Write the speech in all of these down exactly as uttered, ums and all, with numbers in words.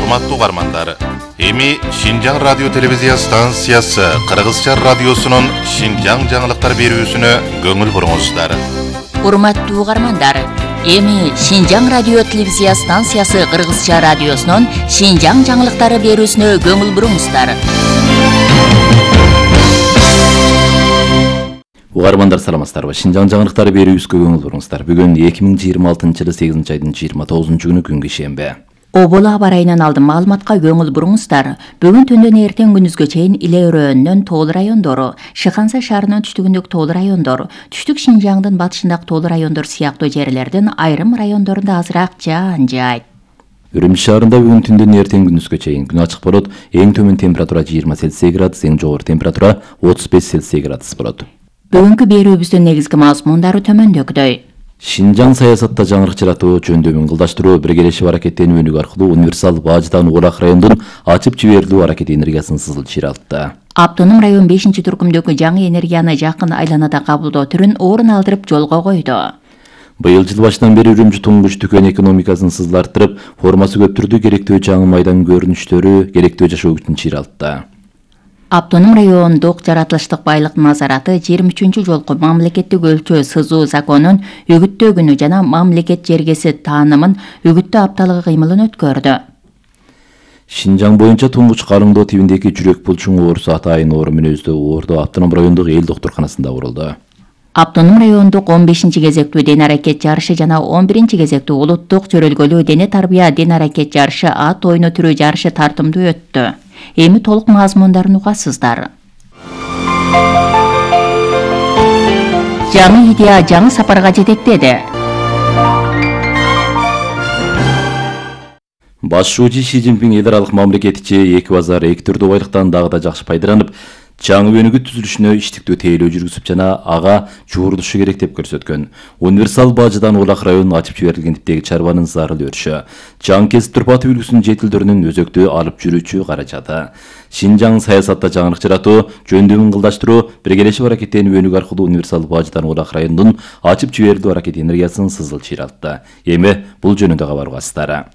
Урматтуу угармандар, эми Шинжаң радио телевизия станциясы Кыргызча радиосунун Шинжаң жаңылыктар берүүсүнө көңүл буруңуздар. Урматтуу угармандар, эми Шинжаң радио телевизия станциясы Кыргызча радиосунун Шинжаң жаңылыктары берүүсүнө көңүл буруңуздар. Угармандар саламатсыздарбы? Шинжаң жаңылыктары берүүбүзгө көңүл буруңуздар. Бүгүн эки миң жыйырма алтынчы жылы сегизинчи айдын жыйырма тогузунчу күнү күнгө шембе. Оболу аба райынан алдын маалыматка көңүл буруңуздар. Бүгүн түндөн эртең күнүзгө чейин Иле өрөөнүнөн Тоол райондору, Шыханса шаарынын түштүгүндөгү Тоол райондор, Түштүк Шинжаңдын батышындагы Тоол райондор сыяктуу жерлердин айрым райондорунда азыраак жаан жаайт. Үрүмчү шаарында бүгүн түндөн эртең күнүзгө чейин күн ачык болот. Эң төмөн температура жыйырма Цельсий градус, эң жогору температура отуз беш Цельсий градус болот. Бүгүнкү берүүбүздүн негизги мазмундары төмөндөгүдөй. Шинжаң саясатта жаңырык жаратуу, жөндөмүн кылдаштыруу, биргелешип аракеттенүү өнүгүү аркылуу универсал баждан Улак райондун ачып жиберилүү аракети энергиясын сызыл чыйралтты. Автоном район бешинчи туркумдөгү жаңы энергияны жакын айланада кабылдоо түрүн орун алдырып жолго койду. Быйыл жыл башынан бери Үрүмчү туңгуч дүкөн экономикасын сызыл арттырып, формасы көптүрдүү керектүү жаңы майдан көрүнүштөрү, керектүү жашоо күчүн чыйралтты. Автоном райондук жаратылыштык байлык назараты жыйырма үчүнчү жолку мамлекеттик өлчөө сызуу законун үгүттөө күнү жана мамлекет жергеси таанымын үгүттөө апталыгы кыймылын өткөрдү. Шинжаң боюнча туңгуч карыңдоо тибиндеги жүрөк булчуң оорусу атайын оору менен өздө оордо автоном райондук эл доктурканасында урулду. Автоном райондук он бешинчи кезектүү ден аракет жарышы жана он биринчи кезектүү улуттук чөрөлгөлүү дене тарбия ден аракет жарышы ат ойну түрү жарышы тартымдуу өттү. Эми толук мазмундарын угасыздар. Жаңы идея жаңы сапарга жетектеди. Башчы Ши Цзиньпин эл аралык мамлекетичи эки базар эки түрдүү байлыктан дагы да жакшы пайдаланып, жаңы өнүгүү түзүлүшүнө иштиктүү тейлөө жүргүзүп жана ага жуурдушу керек деп көрсөткөн. Универсал бажыдан Улак районуна ачып жиберилген типтеги чарбанын зарыл өрүшү, жаңы кесип турпаты үлгүсүнүн жетилдөрүнүн өзөктүү алып жүрүүчү каражаты. Шинжаң саясатта жаңырык жаратуу, жөндөмүн кылдаштыруу, биргелешип аракеттенүү өнүгүү аркылуу универсал бажыдан Улак районунун ачып жиберилүү аракети энергиясын сызыл чыйралтты. Эми бул жөнүндө кабар угасыздар.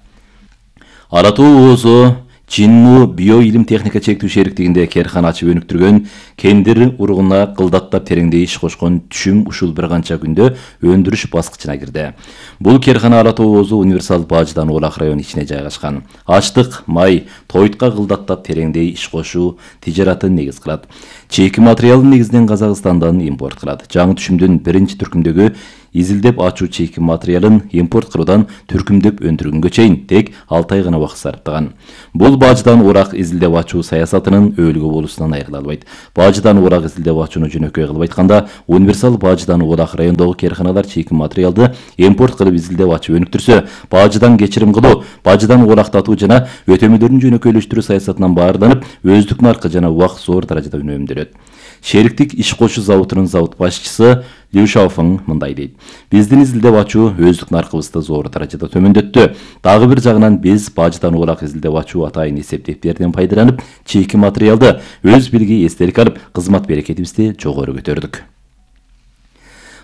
Ара Тоо оозу Чинму био илим техника чектүү шериктигинде керкана ачып өнүктүргөн кендир ургуна кылдаттап тереңдей иш кошкон түшүм ушул бир канча күндө өндүрүш баскычына кирди. Бул керкана Ара Тоо оозу универсал бажыдан Улак району ичине жайгашкан. Ачтык, май, тойтка кылдаттап тереңдей иш кошуу тижаратын негиз кылат. Чейки материалын негизинен Казакстандан импорт кылат. Жаңы түшүмдүн биринчи түркүмдөгү изилдеп ачуу чейки материалын импорт кылуудан түркүмдөп өндүргөнгө чейин тек алты ай гана убакыт сарптаган. Бул бажыдан Улак изилдеп ачуу саясатынын өлгө болуусунан айрыла албайт. Бажыдан Улак изилдеп ачууну жөнөкөй кылып айтканда, универсал бажыдан Улак райондогу керканалар чейки материалды импорт кылып изилдеп ачып өнүктүрсө, бажыдан кечирим кылуу, бажыдан улактатуу жана өтөмөлөрүн жөнөкөйлөштүрүү саясатынан баарданып, өздүк наркы жана убакыт зор даражада үнөмдөлөт. Шериктик иш кошуу заводунун завод башчысы Лю Шаофeng мындай дейт: биздин изилдеп ачуу өздүк наркыбызды зор даражада төмөндөттү. Дагы бир жагынан биз бажыдан Улак изилдеп ачуу атайын эсептептерден пайдаланып, чейки материалды өз билги эстелик алып, кызмат берекетибизди жогору көтөрдүк.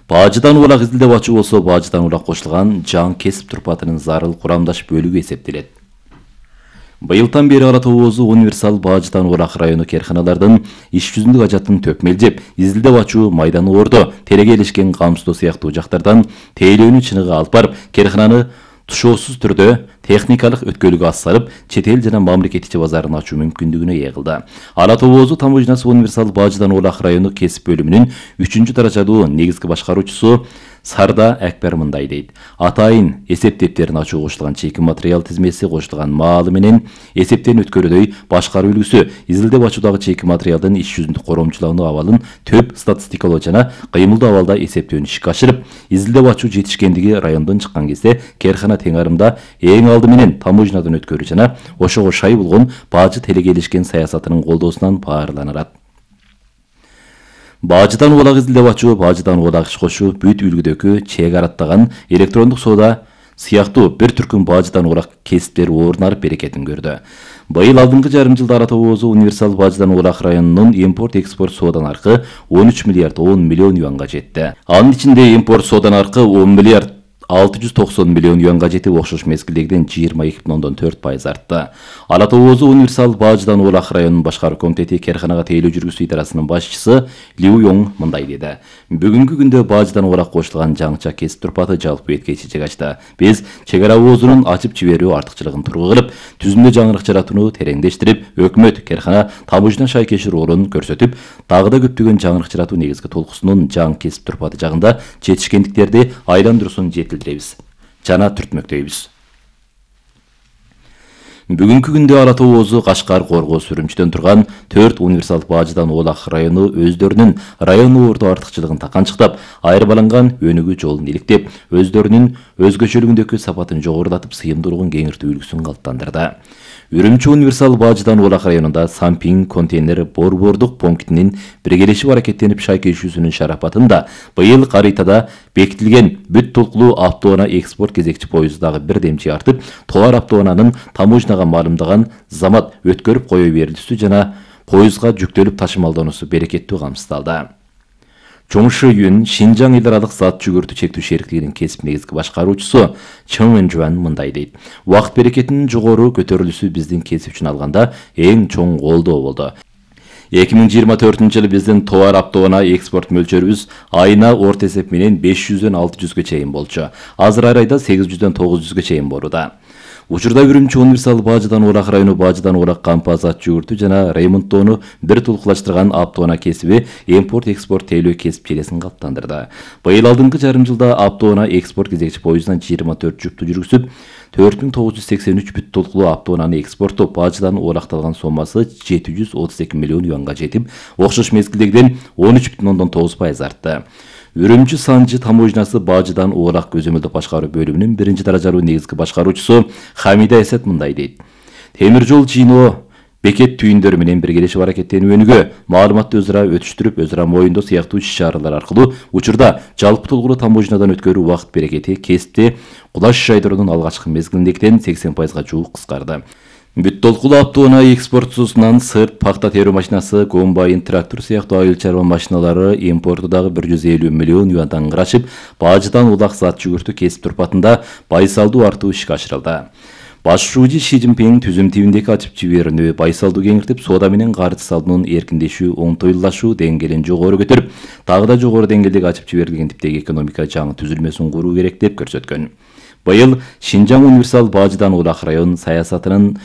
Бажыдан Улак изилдеп ачуу болсо, бажыдан Улак кошулган жаңы кесип турпатынын зарыл курамдаш бөлүгү эсептелет. Быйылдан бери Ара Тоо оозу универсал бажыдан Улак району керканалардын иш жүзүндүк ажатын төкмелжеп, изилдеп ачуу майдан оордо, тереге илишкен камсто сыяктуу жактардан тейлөөнү чыныгы алып барып, керкананы тушоосуз түрдө техникалык өткөлүгү ассарып, чет эл жана мамлекет ичи базарын ачуу мүмкүндүгүнө ээ кылды. Ара Тоо оозу таможнясы универсал бажыдан Улак району кесип бөлүмүнүн үчүнчү даражалуу негизги башкаруучусу Сарда Акбар мындай дейт: атайын эсептептерин ачуу кошулган чейки материал тизмеси кошулган маалы менен эсептен өткөрүүдөй башкаруу үлгүсү изилдеп ачуудагы чейки материалдын иш жүзүндүк коромчулануу абалын төп статистикалоо жана кыймылдуу абалда эсептөөнү ишке ашырып, изилдеп ачуу жетишкендиги райондон чыккан кезде керкана тең арымда эң алды менен таможнядан өткөрүү жана ошого шай болгон бажы телеге илишкен саясатынын колдоосунан баарыланат. Бажыдан Улак изилдеп ачуу, бажыдан Улак иш кошуу бүт үлгүдөгү чек араттаган электрондук соода сыяктуу бир түркүм бажыдан Улак кесиптер орунарып берекетин көрдү. Быйыл алдыңкы жарым жылда Ара Тоо оозу универсал бажыдан Улак районунун импорт-экспорт соодан аркы он үч миллиард он миллион юанга жетти. Анын ичинде импорт соодан аркы он миллиард алты жүз токсон миллион юанга жетип, окшош мезгилдегиден жыйырма эки бүтүн ондон төрт пайыз артты. Ала Тоо Оозу универсал бажыдан Улак районунун башкаруу комитети керканага тейлөө жүргүзүү идарасынын башчысы Лиу Йонг мындай деди. Бүгүнкү күндө бажыдан Улак кошулган жаңыча кесип турпаты жалпы бетке чечек ачты. Биз чек ара оозунун ачып жиберүү артыкчылыгын тургу кылып, түзүмдө жаңырык жаратууну тереңдештирип, өкмөт, керкана, таможня шайкеши ролун көрсөтүп, дагы да көптөгөн жаңырык жаратуу негизги толкусунун жаң кесип турпаты жагында жетишкендиктерди айландырууусун жетилдиребиз жана түртмөктөйбүз. Бүгүнкү күндө Ала Тоо Оозу, Кашкар, Коргоз, Сүрүмчүдөн турган төрт универсал бажыдан Улак району өздөрүнүн район орто артыкчылыгын таканчыктап, айырмаланган өнүгүү жолун иликтеп, өздөрүнүн өзгөчөлүгүндөгү сапатын жогорулатып, сыйымдуулугун кеңиртүү үлгүсүн калыптандырды. Үрүмчү универсал бажыдан Улак районунда Сампинг контейнер борбордук пунктинин биргелешип аракеттенип шайкешүүсүнүн шарапатында быйыл каритада бекитилген бүт толкулуу автоунаа экспорт кезекчи поезду дагы бирдемчи артып, товар автоунаанын таможняга маалымдаган замат өткөрүп кое берилүүсү жана поездга жүктөлүп ташымалдануусу берекеттүү камсыздалды. Чоңшу Юн Шинжаң эл аралык зат жүгүртүү чектүү шериктигинин кесип негизги башкаруучусу Чың Энжуан мындай дейт. Убакыт берекетинин жогору көтөрүлүүсү биздин кесип үчүн алганда эң чоң колдоо болду. эки миң жыйырма төртүнчү жылы биздин товар автоунаа экспорт мөлчөрүбүз айына орто эсеп менен беш жүздөн алты жүзгө чейин болчу. Азыр ар айда сегиз жүздөн тогуз жүзгө чейин болууда. Учурда Үрүмчү универсал бажыдан Улак району бажыдан Улак кампа зат жүгүртүү жана ремонттоону бир тулкулаштырган автоунаа кесиби импорт-экспорт тейлөө кесип желесин калыптандырды. Быйыл алдыңкы жарым жылда автоунаа экспорт кезекчи поездунан жыйырма төрт жүктү жүргүзүп, төрт миң тогуз жүз сексен үч бүт толкулуу автоунааны экспорттоп, бажыдан Улакталган сомасы жети жүз отуз эки миллион юанга жетип, окшош мезгилдегиден он үч бүтүн ондон тогуз пайыз артты. Үрүмчү Санжы таможнясы бажыдан Улак көзөмөлдүк башкаруу бөлүмүнүн биринчи даражалуу негизги башкаруучусу Хамида Эсет мындай дейт. Темир жол жыйноо бекет түйүндөрү менен биргелешип аракеттенүүгө, маалыматты өзара өтүштүрүп, өзара моюндоо сыяктуу иш-чаралар аркылуу учурда жалпы толкулуу таможнядан өткөрүү убакыт берекети кесипте кулаш жайдыруунун алгачкы мезгилиндегиден сексен пайызга жуук кыскарды. Бүт толкулуу автоунаа экспортчусунан сырт, пахта терүү машинасы, комбайн, трактор сыяктуу айыл чарба машиналары импорту дагы бир жүз элүү миллион юандан ырашып, бажыдан Улак зат жүгүртүү кесип турпатында байсалдуу артуу ишке ашырылды. Баш шууji Ши Цзиньпин түзүм тибиндеги ачып жиберүүнү байсалдуу кеңиртип, соода менен карыз салуунун эркиндешүү, оңтойлашуу деңгээлин жогору көтөрүп, дагы да жогору деңгээлдеги ачып жиберилген типтеги экономика жаңы түзүлмөсүн куруу керек деп көрсөткөн. Быйыл Шинжаң универсал бажыдан Улак район саясатынын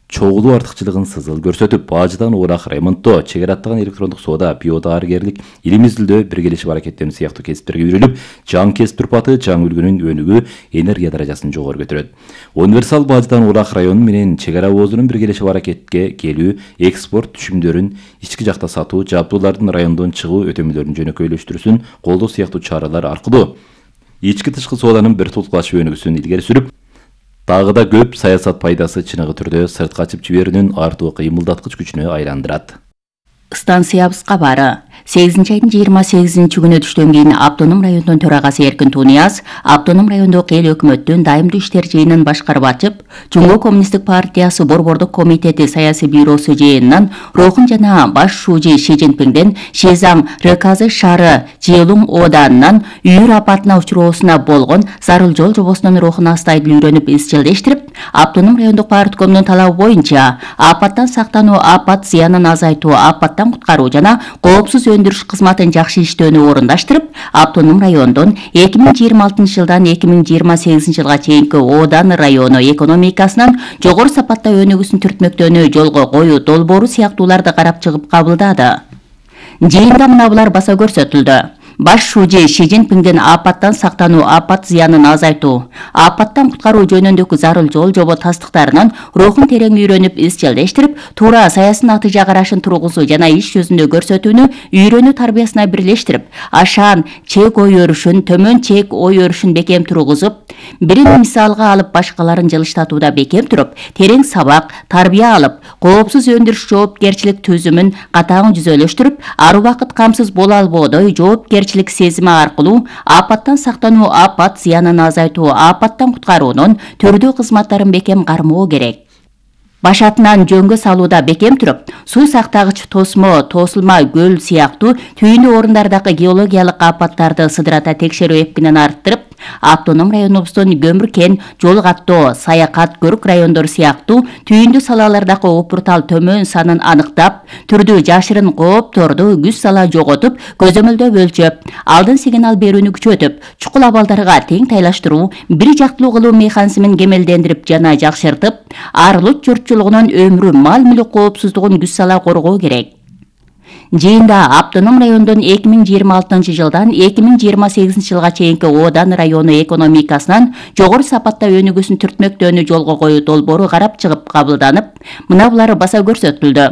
чогулуу артыкчылыгын сызыл көрсөтүп, бажыдан Улак ремонттоо, чегара аттаган электрондук соода, биодарыгерлик, илим изилдөө, биргелешип аракеттенүү сыяктуу кесиптерге үйрөлүп, жаң кесип турпаты, жаң үлгүнүн өнүгүү, энергия даражасын жогору көтөрөт. Универсал бажыдан Улак району менен чегара оозунун биргелешип аракетке келүү, экспорт түшүмдөрүн ички жакта сатуу, жабдуулардын райондон чыгуу өтөмөлөрүн жөнөкөйлөштүрүүсүн колдоо сыяктуу чаралар аркылуу ички тышкы сооданын бир тулкулашуу өнүгүүсүн илгери сүрүп, дагы да көп саясат пайдасы чыныгы түрдө сыртка ачып жиберүүнүн артуу кыймылдаткыч күчүнө айландырат. Станциябыз кабары. сегизинчи айдын жыйырма сегизинчи күнү түштөн кийин Автоном районунун төрагасы Эркин Тунияз Автоном райондук эл өкмөттүн дайымдуу иштер жыйынын башкарып ачып, Жумгоо коммунисттик партиясы борбордук комитети саясий бюросу жыйынынан Рохун жана баш шууji Ши Цзиньпинден Шизаң РКЗ шаары Жиелуң ооданынан үйүр апатына учуроосуна болгон зарыл жол жобосунун рухун астайдыл үйрөнүп изчилдештирип, Автоном райондук парткомунун талабы боюнча апаттан сактануу, апат зыянын азайтуу, апаттан куткаруу жана коопсуз өндүрүш кызматын жакшы иштөөнү орундаштырып, Автоном райондон эки миң жыйырма алтынчы жылдан эки миң жыйырма сегизинчи жылга чейинки оодан району экономикасынын жогору сапатта өнүгүүсүн түртмөктөөнү жолго коюу долбоору сыяктууларды карап чыгып кабылдады. Жыйында мына булар баса көрсөтүлдү. Баш шууji Ши Цзиньпиндин апаттан сактануу, апат зыянын азайтуу, апаттан куткаруу жөнүндөгү зарыл жол жобо тастыктарынын рухун терең үйрөнүп изчилдештирип, туура саясий натыйжа карашын тургузуу жана иш жүзүндө көрсөтүүнү үйрөнүү тарбиясына бирлештирип, ашаан чек ой өрүшүн, төмөн чек ой өрүшүн бекем тургузуп, бирин мисалга алып башкаларын жылыштатууда бекем туруп, терең сабак, тарбия алып, коопсуз өндүрүш жоопкерчилик түзүмүн катаң жүзөлөштүрүп, ар убакыт камсыз боло албоодой жоопкерчилик сезими аркылуу апаттан сактануу, апат зыянын азайтуу, апаттан куткаруунун түрдүү кызматтарын бекем кармоо керек. Башатынан жөнгө салууда бекем туруп, суу сактагыч тосмо, тосулма көл сыяктуу түйүнүү орундардагы геологиялык апаттарды сыдырата текшерүү эпкинин арттырып, Автоном районубуздун көмүр кен, жол каттоо, саякат, көрүк райондору сыяктуу түйүндүү салалардагы опуртал төмөн санын аныктап, түрдүү жашырын коопторду күз сала жоготуп, көзөмөлдөп өлчөп, алдын сигнал берүүнү күчөтүп, чукул абалдарга тең тайлаштыруу, бир жактылуу кылуу механизмин кемелдендирип жана жакшыртып, ар улут журтчулугунун өмүрү, мал мүлүк коопсуздугун күз сала коргоо керек. Жыйында автоном райондун эки миң жыйырма алтынчы жылдан эки миң жыйырма сегизинчи жылга чейинки Одан району экономикасынан жогору сапатта өнүгүүсүн түртмөктөөнү жолго коюу долбоору карап чыгып кабылданып, мына булар баса көрсөтүлдү.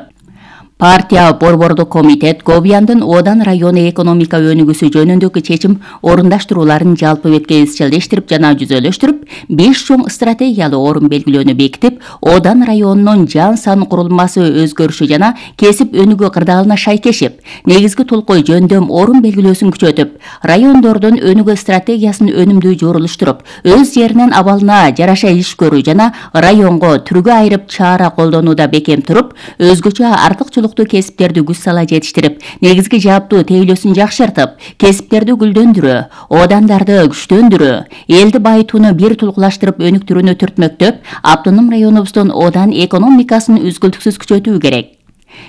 Партия борбордук комитет Говьяндын Одан району экономика өнүгүүсү жөнүндөгү чечим орундаштырууларын жалпы бетке изчилдештирип жана жүзөлөштүрүп, беш чоң стратегиялуу орун белгилөөнү бекитип, Одан районунун жан сан курулмасы өзгөрүшү жана кесип өнүгүү кырдаалына шайкешип, негизги толкой жөндөм орун белгилөөсүн күчөтүп, райондордун өнүгүү стратегиясын өнүмдүү жорулуштуруп, өз жеринин абалына жараша иш көрүү жана районго түргө айырып чара колдонууда бекем туруп, өзгөчө артыкчылык кесиптерди күз сала жетиштирип, негизги жааптуу тейлөөсүн жакшыртып, кесиптерди гүлдөндүрүү, одандарды күчтөндүрүү, элди байытууну бир тулкулаштырып өнүктүрүүнү түртмөктөп, автоном районубуздун Одан экономикасын үзгүлтүксүз күчөтүү керек.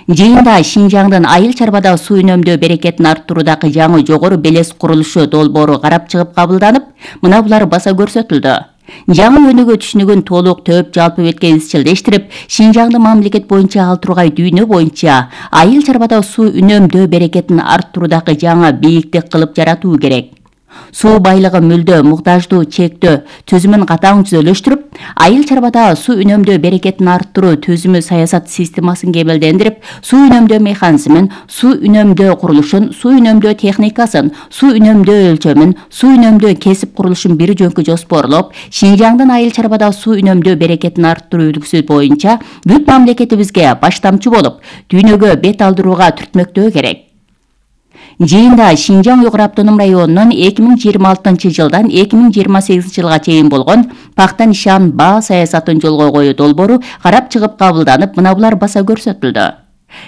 Жыйында Шинжаңдын айыл чарбада суу үнөмдөө берекетин арттыруудагы жаңы жогору белес курулушу долбоору карап чыгып кабылданып, мына булар баса көрсөтүлдү. Жаңы өнүгүү түшүнүгүн толук төп жалпы бетке изчилдештирип, Шинжаңды мамлекет боюнча ал тургай дүйнө боюнча айыл чарбада суу үнөмдөө берекетин арттыруудагы жаңы бийиктик кылып жаратуу керек. Суу байлыгы мүлдө муктаждуу чектөө түзүмүн катаң түзөлөштүрүп, айыл чарбада суу үнөмдөө берекетин арттыруу түзүмү саясат системасын кемелдендирип, суу үнөмдөө механизмин, суу үнөмдөө курулушун, суу үнөмдөө техникасын, суу үнөмдөө өлчөмүн, суу үнөмдөө кесип курулушун бир жөнкү жоспорлоп, Шинжаңдын айыл чарбада суу үнөмдөө берекетин арттыруу үлгүсү боюнча бүт мамлекетибизге баштамчы болуп, дүйнөгө бет алдырууга түртмөктөө керек. Жыйында Шинжаң Уйгур автоном районунун эки миң жыйырма алтынчы жылдан эки миң жыйырма сегизинчи жылга чейин болгон пакта нишан баа саясатын жолго коюу долбоору карап чыгып кабылданып, мына булар баса көрсөтүлдү.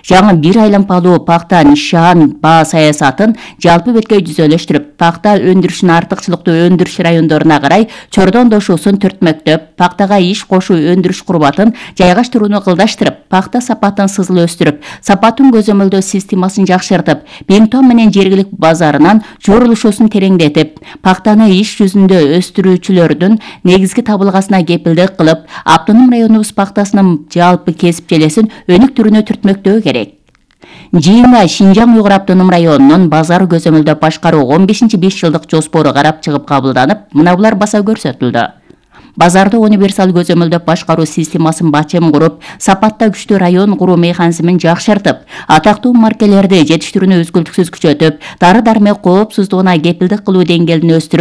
Жаңы бир айланпалуу пакта нишан баа саясатын жалпы бетке жүзөлөштүрүп, пакта өндүрүшүн артыкчылыктуу өндүрүш райондоруна карай чордондошуусун түртмөктөп, пактага иш кошуу өндүрүш курбатын жайгаштырууну кылдаштырып, пакта сапатын сызыл өстүрүп, сапатын көзөмөлдөө системасын жакшыртып, Беңтон менен жергилик базарынан жорулушуусун тереңдетип, пактаны иш жүзүндө өстүрүүчүлөрдүн негизги табылгасына кепилдик кылып, автоном районубуз пактасынын жалпы кесип желесин өнүктүрүүнү түртмөктөө керек. Жыйында Шинжаң Уйгур автоном районунун базар көзөмөлдөп башкаруу он бешинчи беш жылдык жоспору карап чыгып кабылданып, мына булар баса көрсөтүлдү. Базарды универсал көзөмөлдөп башкаруу системасын бачым куруп, сапатта күчтүү район куруу механизмин жакшыртып, атактуу маркелерди жетиштирүүнү үзгүлтүксүз күчөтүп, дары-дармек коопсуздугуна кепилдик кылуу деңгээлин өстүрүп,